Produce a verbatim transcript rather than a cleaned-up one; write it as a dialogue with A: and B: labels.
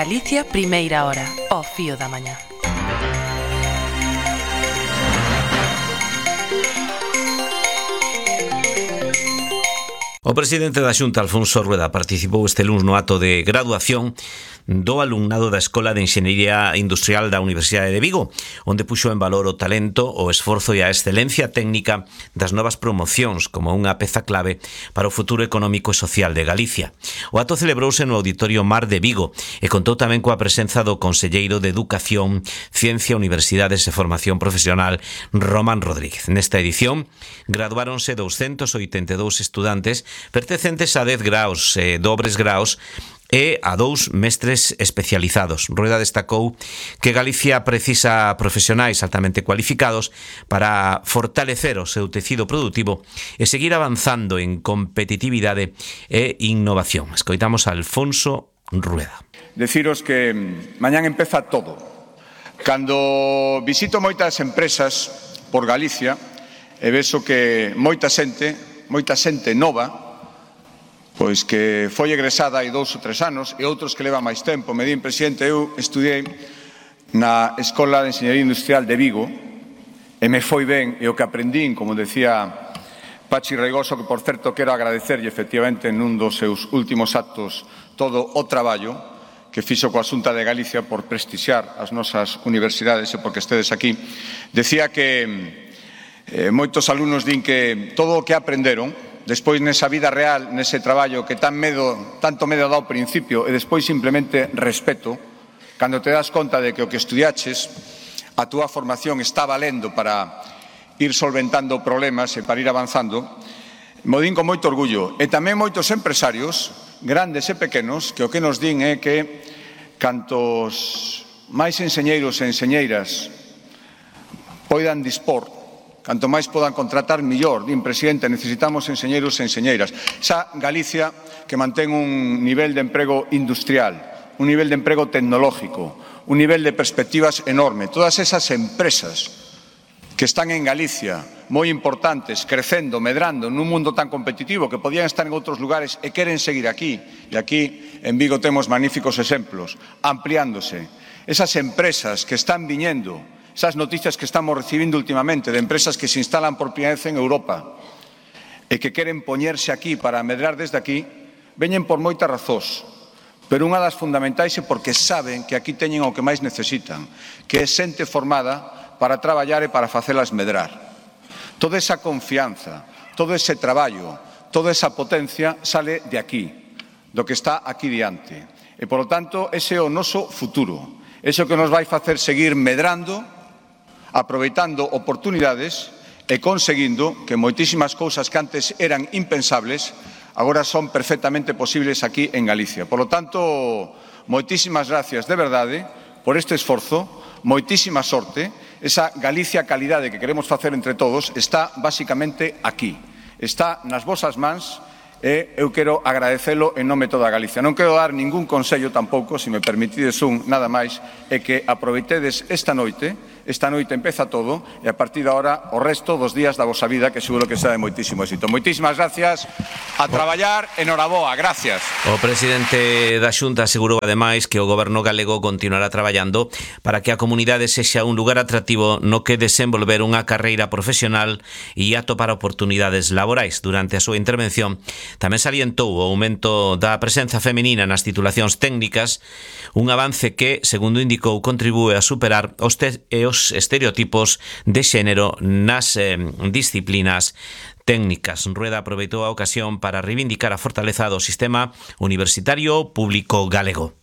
A: Galicia, primeira hora, ao fío da mañá.
B: O presidente da Xunta, Alfonso Rueda, participou este luns no acto de graduación do alumnado da Escola de Enxeñería Industrial da Universidade de Vigo, onde puxo en valor o talento, o esforzo e a excelencia técnica das novas promocións como unha peza clave para o futuro económico e social de Galicia. O acto celebrouse no Auditorio Mar de Vigo e contou tamén coa presenza do Conselleiro de Educación, Ciencia, Universidades e Formación Profesional, Román Rodríguez. Nesta edición, graduáronse doscientos oitenta e dous estudantes pertencentes a dez graos e dobres graos e a dous mestres especializados. Rueda destacou que Galicia precisa profesionais altamente cualificados para fortalecer o seu tecido productivo e seguir avanzando en competitividade e innovación. Escoitamos a Alfonso Rueda.
C: Deciros que mañán empeza todo. Cando visito moitas empresas por Galicia e vexo que moita xente, moita xente nova, pois que foi egresada hai dous ou tres anos e outros que leva máis tempo. Me din, presidente, eu estudiei na Escola de Enxeñería Industrial de Vigo e me foi ben, e o que aprendín, como decía Pachi Reigoso, que por certo quero agradecerlle efectivamente nun dos seus últimos actos todo o traballo que fixo coa Xunta de Galicia por prestixiar as nosas universidades e porque estedes aquí, decía que eh, moitos alumnos din que todo o que aprenderon despois nesa vida real, nese traballo que tan medo, tanto medo dá ao principio e despois simplemente respeto, cando te das conta de que o que estudiaches, a túa formación está valendo para ir solventando problemas e para ir avanzando, mo din con moito orgullo. E tamén moitos empresarios, grandes e pequenos, que o que nos din é que cantos máis enxeñeiros e enxeñeiras poidan dispor, canto máis podan contratar, millor. Din, presidente, necesitamos enxeñeiros e enxeñeiras. Esa Galicia que mantén un nivel de emprego industrial, un nivel de emprego tecnológico, un nivel de perspectivas enorme. Todas esas empresas que están en Galicia, moi importantes, crecendo, medrando, nun mundo tan competitivo que podían estar en outros lugares e queren seguir aquí. E aquí, en Vigo, temos magníficos exemplos, ampliándose. Esas empresas que están viñendo, esas noticias que estamos recibindo últimamente de empresas que se instalan por primeira vez en Europa e que queren poñerse aquí para medrar desde aquí, veñen por moitas razóns, pero unha das fundamentais é porque saben que aquí teñen o que máis necesitan, que é xente formada para traballar e para facelas medrar. Toda esa confianza, todo ese traballo, toda esa potencia sale de aquí, do que está aquí diante. E, polo tanto, ese é o noso futuro, ese é o que nos vai facer seguir medrando, aproveitando oportunidades e conseguindo que moitísimas cousas que antes eran impensables agora son perfectamente posibles aquí en Galicia. Por lo tanto, moitísimas gracias de verdade por este esforzo, moitísima sorte. Esa Galicia calidade que queremos facer entre todos está basicamente aquí, está nas vosas mans e eu quero agradecelo en nome de toda Galicia. Non quero dar ningún consello tampouco, se me permitides un, nada máis, é que aproveitedes esta noite. Esta noite empeza todo e a partir de ahora o resto dos días da vosa vida, que seguro que será de moitísimo éxito. Moitísimas gracias, a traballar, enhoraboa, gracias.
B: O presidente da Xunta asegurou ademais que o goberno galego continuará traballando para que a comunidade sexa un lugar atractivo no que desenvolver unha carreira profesional e atopar oportunidades laborais. Durante a súa intervención tamén salientou o aumento da presenza feminina nas titulacións técnicas, un avance que, segundo indicou, contribúe a superar os, te e os estereotipos de xénero nas eh, disciplinas técnicas. Rueda aproveitou a ocasión para reivindicar a fortaleza do sistema universitario público galego.